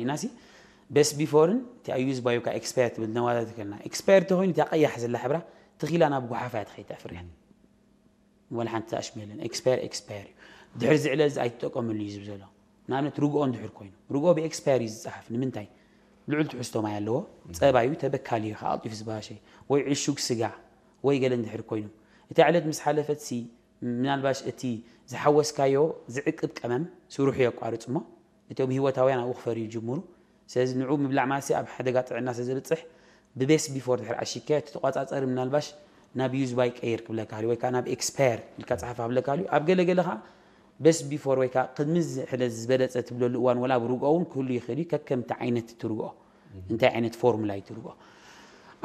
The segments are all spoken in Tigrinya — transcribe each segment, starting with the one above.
ኢናሲ በስ ቢፎርን እቲ ኣዩዝ ባዩ ካ ኤክስፓየር ትብል ነዋዳ ትከልና ኤክስፓየር ተኮይኑ እታ ቀያሕ ዘላ ሕብራ ትኺላ ናብ ጉሓፋ እያ ትኸይድ ፍርያት ወላ ሓንቲ ተኣሽሙ የለን ኤክስፓየር ኤክስፓየር እዩ ድሕሪ ዝዕለ እዚ ኣይትጠቀምሉ እዩ ዝብ ዘሎ ንኣብነት ርግኦ እንድሕር ኮይኑ ርግኦ ብኤክስፓየር እዩ ዝፀሓፍ ንምንታይ ልዑል ትሕዝቶ ማይ ኣለዎ ፀባዩ ተበካሊ እዩ ከኣልጢፍ ዝበላሸ ወይ ዕሹግ ስጋ ወይ ገለ እንድሕር ኮይኑ እታ ዕለት ምስ ሓለፈት ሲ ምናልባሽ እቲ ዝሓወስካዮ ዝዕቅብ ቀመም ስሩሑ የቋርጽ እሞ እቶም ህይወታውያን ኣብኡ ክፈርዩ ይጅምሩ። ስለዚ ንዑ ምብላዕ ማለት ኣብ ሓደጋ ጥዕና ስለ ዘብጽሕ ብቤስ ቢፎር ድሕር ዓሺካዮ እቲ ተቋጻጸሪ ምናልባሽ ናብ ዩዝ ባይ ቀይር ክብለካ ወይ ከዓ ናብ ኤክስፓየር ኢልካ ጸሓፋ ክብለካ ኣብ ገለ ገለ ከዓ ቤስ ቢፎር ወይ ከዓ ቅድሚ ሕለ ዝበለፀ ትብለሉ እዋን ወላ ኣብ ርግኦ እውን ክህሉ ይኽእል እዩ ከከምቲ ዓይነት ትርግኦ እንታይ ዓይነት ፎርሙላ እዩ ትርግኦ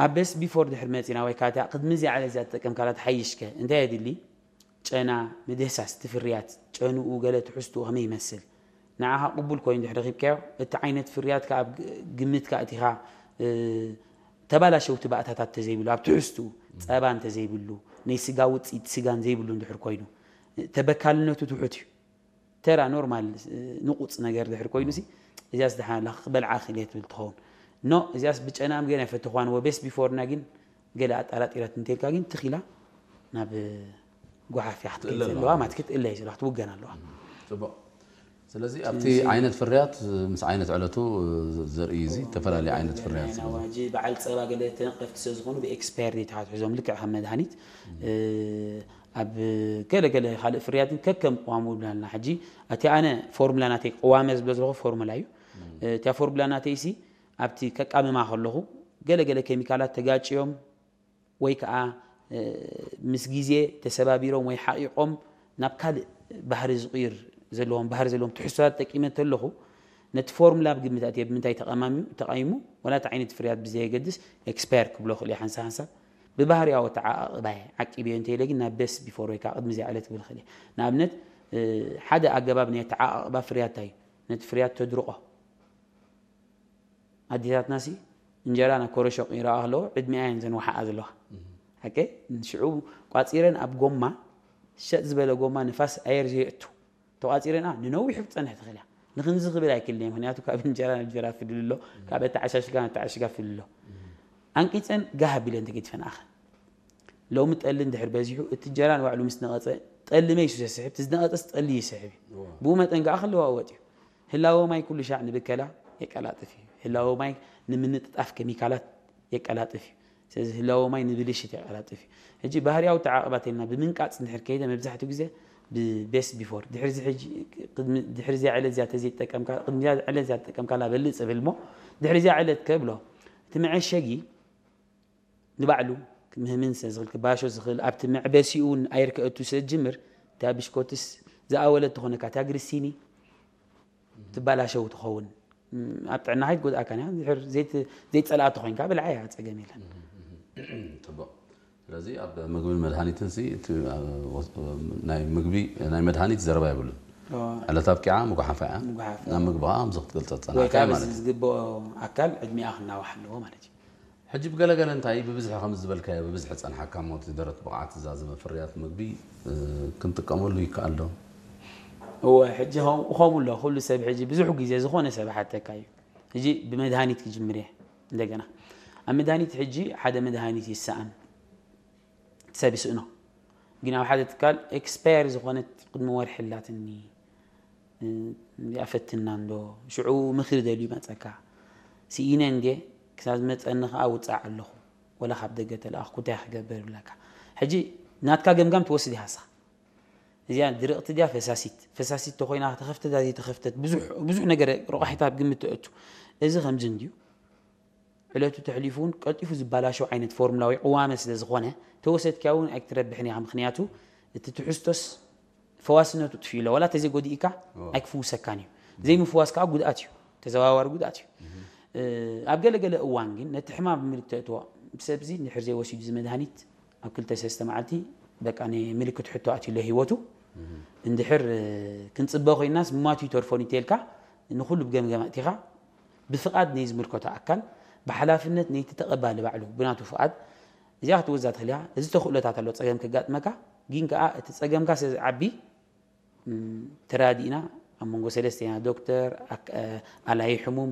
ኣብ ቤስ ቢፎር ድሕር መፂና ወይ ከዓ ቅድሚ እዚኣ ዕለት እዚኣ ተጠቀምካላ ትሓይሽከ እንታይ የድሊ ጨና፣ ምድህሳስ እቲ ፍርያት፣ ጨንኡ፣ ገለ ትሕዝትኡ ከመይ ይመስል፣ ንዓኻ ቅቡል ኮይኑ እንድሕር ረኺብካዮ፣ እቲ ዓይነት ፍርያት ከኣ ኣብ ግምትካ ኣእቲኻ ተባላሸውቲ ባእታታት እንተዘይብሉ፣ ኣብ ትሕዝትኡ ጸባ እንተዘይብሉ፣ ናይ ስጋ ውጽኢት ስጋን ዘይብሉ እንድሕር ኮይኑ፣ ተበካልነቱ ትሑት እዩ። ተራ ኖርማል ንቁጽ ነገር ድሕር ኮይኑ ሲ እዚያስ ደሓን ኣላ ክበልዓ ክእል እየ ትብል ትኸውን። ኖ እዚያስ ብጨናም ገና ይፈትኽዋን ወ ቤስ ቢፎርና ግን ገለ ኣጣራጢራት እንተልካ ግን ትኺላ ናብ ጓሓፍ እያ ክትከይድ ዘለዋ ማለት ክትእለ እዩ ዘለዋ ክትውገን ኣለዋ። ጽቡቕ። ስለዚ ኣብቲ ዓይነት ፍርያት ምስ ዓይነት ዕለቱ ዘርኢ እዚ ዝተፈላለዩ ዓይነት ፍርያት ናይ ኣዋጅ በዓል ጸባ ገለ ተነቀፍቲ ስለ ዝኾኑ ብኤክስፓየር ዴት ክትሕዞም ልክዕ ከም መድሃኒት ኣብ ገለ ገለ ካልእ ፍርያትን ከከም ቅዋሙ ብላልና ሕጂ እቲ ኣነ ፎርሙላ ናተይ ቅዋመ ዝብሎ ዘለኹ ፎርሙላ እዩ። እቲያ ፎርሙላ ናተይ ሲ ኣብቲ ከቃምማ ከለኹ ገለ ገለ ኬሚካላት ተጋጭዮም ወይ ከዓ ምስ ግዜ ተሰባቢሮም ወይ ሓቒቖም ናብ ካልእ ባህሪ ዝቕይር ዘለዎም ባህሪ ዘለዎም ትሕዝቶታት ተጠቂመ እንተለኹ ነቲ ፎርሙላ ብግምት ኣትየ ብምንታይ ተቐማሚሙ ተቓይሙ ወላ እቲ ዓይነት ፍርያት ብዘየገድስ ኤክስፓየር ክብሎ ክእል እየ ሓንሳብ ሓንሳብ ብባህርያዊ ኣተዓቓቕባየ ዓቂበዮ እንተኢለ ግን ናብ ቤስት ቢፎር ወይ ከዓ ቅድሚ እዚኣ ዕለት ክብል ክእል እየ ንኣብነት ሓደ ኣገባብ ናይ ኣተዓቓቕባ ፍርያት እንታይ እዩ ነቲ ፍርያት ተድርቖ ኣዴታትና ሲ እንጀራ ናብ ኮረሾ ቅይረኣ ከለዎ ዕድሚኣ እየን ዘንውሓኣ ዘለዋ ሓቀይ ሽዑ ቋፂረን ኣብ ጎማ ሸጥ ዝበለ ጎማ ንፋስ ኣየር ዘየእቱ ተቋፂረን ኣ ንነዊሑ ክፀንሕ ትኽእል እያ ንክንዚ ክብል ኣይክልን እየ ምክንያቱ ካብ እንጀራ ናብ እንጀራ ፍልል ኣሎ ካብ ኣተዓሻሽጋ ናብ ኣተዓሽጋ ፍልል ኣሎ ኣንቂፀን ጋህ ኣቢለን ተገዲፈን ኣኸ ሎሚ ጠሊ እንድሕር በዚሑ እቲ እንጀራ ንባዕሉ ምስ ነቐፀ ጠሊ መይሱ ዘስሕብ እቲ ዝነቐፀስ ጠሊ ይስሕብ እዩ ብኡ መጠን ከዓ ክለዋወጥ እዩ ህላወ ማይ ኩሉ ሻዕ ንብከላ የቀላጥፍ እዩ። ህላወ ማይ ንምንጥጣፍ ኬሚካላት የቀላጥፍ እዩ። ስለዚ ህላወ ማይ ንብልሽት የቀላጥፍ እዩ። ሕጂ ባህርያዊ ተዓቕባት ኢልና ብምንቃፅ እንድሕር ከይደ መብዛሕትኡ ግዜ ብቤስት ቢፎር ድሕሪ እዚ ሕጂ ቅድሚ ድሕሪ እዚኣ ዕለት እዚኣ ተዘይተጠቀምካ ቅድሚ እዚኣ ዕለት እዚኣ ተጠቀምካላ በልፅ እብል እሞ ድሕሪ እዚኣ ዕለት ከብሎ እቲ መዐሸጊ ንባዕሉ ክምህምን ስለ ዝኽእል ክባሾ ዝኽእል ኣብቲ መዕበሲኡ እውን ኣየር ከእቱ ስለ ዝጅምር እታ ብሽኮትስ ዝኣወለት ትኾነካ እታ ግሪሲኒ ትባላሸው ትኸውን ኣብ ጥዕና ከይትጎድኣካ እያ ድሕር ዘይት- ዘይትጸልኣ ተኾይንካ ብልዓ እያ ጸገም የለን ፅቡቕ ስለዚ ኣብ ምግብን መድሃኒትን ሲ እቲ ኣብ ወስ- ናይ ምግቢ ናይ መድሃኒት ዘረባ የብሉን ዕለት ኣብቂዓ ምጉሓፋ እያ ምጉሓፋ። ናብ ምግቢ ከዓ ከምዚ ክትገልፀ ወይ ዝፀናሕካ ካብ ማለት እዩ ዝግብኦ ኣካል ዕድሚኣ ክናዋሕ ኣለዎ ማለት እዩ ሕጂ ብገለገለ እንታይ ብብዝሒ ከም ዝበልካዮ ብብዝሒ ጸንሓካ እሞ እቲ ደረት ብቕዓት ዝዛዘመ ፍርያት ምግቢ ክንጥቀመሉ ይከኣል ዶ? እወ ሕጂ ከምኡ ኣሎ ኩሉ ሰብ ሕጂ ብዙሕ ግዜ ዝኾነ ሰብ ሓተካ እዩ ሕጂ ብመድሃኒት ክጅምር እየ እንደገና ኣብ መድሃኒት ሕጂ ሓደ መድሃኒት ይሰኣን ሰብ ይስእኖ ግን ኣብ ሓደ ትካል ኤክስፓየር ዝኾነት ቅድሚ ወርሒ ኣላትኒ እዚኣ ፈትና እንዶ ሽዑ ምኽሪ ደልዩ መፀካ ስኢነ እንዴ ክሳብ ዝመፀኒ ከዓ ውፃእ ኣለኹ ወላ ካብ ደገ ተለኣኽኩ እንታይ ክገብር ይብለካ ሕጂ ናትካ ገምጋም ትወስድ ኢኻ ንስኻ እዚኣ ድርቕቲ ድያ ፈሳሲት ፈሳሲት ተኮይና ተኸፍተት ዘይተኸፍተት ብዙሕ ነገር ረቋሒታ ኣብ ግምት ተእቱ እዚ ከምዚ እንድዩ ዕለቱ ተሕሊፉ እውን ቀልጢፉ ዝበላሸው ዓይነት ፎርሙላ ወይ ቅዋመ ስለ ዝኾነ ተወሰድካያ እውን ኣይክትረብሕን ኢኻ ምኽንያቱ እቲ ትሕዝቶስ ፈዋስነቱ ጥፊኡ ኣሎ ዋላ ተዘይጎዲእካ ኣይክፍውሰካን እዩ ዘይምፍዋስ ከዓ ጉድኣት እዩ ተዘዋዋሪ ጉድኣት እዩ ኣብ ገለገለ እዋን ግን ነቲ ሕማም ብምልክት ተእትዎ ብሰብዚ እንድሕር ዘይወሲዱ እዚ መድሃኒት ኣብ ክልተ ሰለስተ መዓልቲ በቃ ምልክት ሕቶ ኣትዩ ኣሎ ህይወቱ እንድሕር ክንፅበ ኮይናስ ምማቱ ይተርፎን ይተልካ ንኩሉ ብገምገም ኣእቲኻ ብፍቓድ ናይ ዝምልከቶ ኣካል ብሓላፍነት ነይቲ ተቐባሊ ባዕሉ ብናቱ ፍቓድ እዚኣ ክትወዛ ትኽእል እያ። እዚ ተኽእሎታት ኣሎ ጸገም ከጋጥመካ፣ ግን ከኣ እቲ ጸገምካ ስለ ዝዓቢ ተራዲእና ኣብ መንጎ ሰለስቴና ዶክተር፣ ኣላዪ ሕሙም፣